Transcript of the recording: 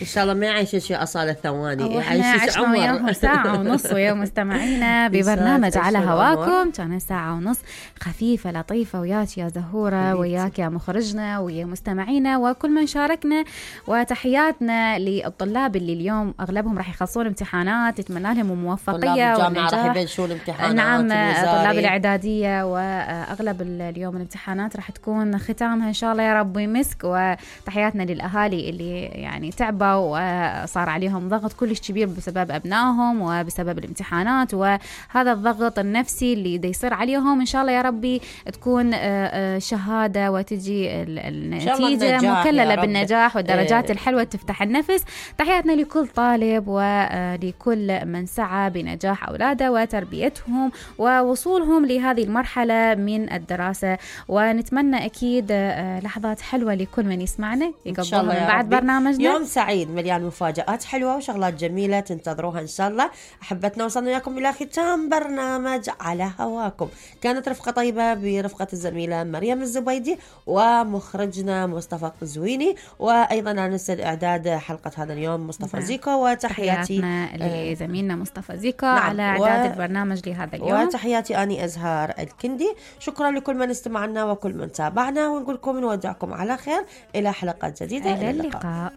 إن شاء الله ما يعيش أصالة ثواني، يعيش عمر. وياهم ساعة ونص ويا مستمعينا ببرنامج على هواكم. كانت ساعة ونص خفيفة لطيفة وياك يا زهورة، وياك يا مخرجنا، ويا مستمعينا وكل من شاركنا. وتحياتنا للطلاب اللي اليوم أغلبهم راح يخلصون امتحانات، نتمنى لهم الموفقية والنجاح. راح يبلشون امتحانات. نعم، طلاب الإعدادية وأغلب اليوم الامتحانات راح تكون ختامها إن شاء الله يا رب يمسك. وتحياتنا للأهالي اللي يعني تعبوا وصار عليهم ضغط كلش كبير بسبب أبنائهم وبسبب الامتحانات، وهذا الضغط النفسي اللي دا يصير عليهم إن شاء الله يا ربي تكون شهادة وتجي النتيجة مكللة بالنجاح والدرجات الحلوة تفتح النفس. تحياتنا لكل طالب ولكل من سعى بنجاح أولاده وتربيتهم ووصولهم لهذه المرحلة من الدراسة. ونتمنى أكيد لحظات حلوة لكل من يسمعنا يقضوها من بعد برنامجنا. يوم سعيد مليان مفاجآت حلوة وشغلات جميلة تنتظروها إن شاء الله. أحبتنا وصلنا وياكم إلى ختام برنامج على هواكم. كانت رفقة طيبة برفقة الزميلة مريم الزبيدي ومخرجنا مصطفى قزويني، وأيضا ننسى إعداد حلقة هذا اليوم مصطفى زيكو. وتحياتي لزميلنا مصطفى زيكو على إعداد البرنامج لهذا اليوم. وتحياتي أني أزهار الكندي. شكرا لكل من استمعنا وكل من تابعنا، ونقولكم نودعكم على خير إلى حلقات جديدة. إلى اللقاء.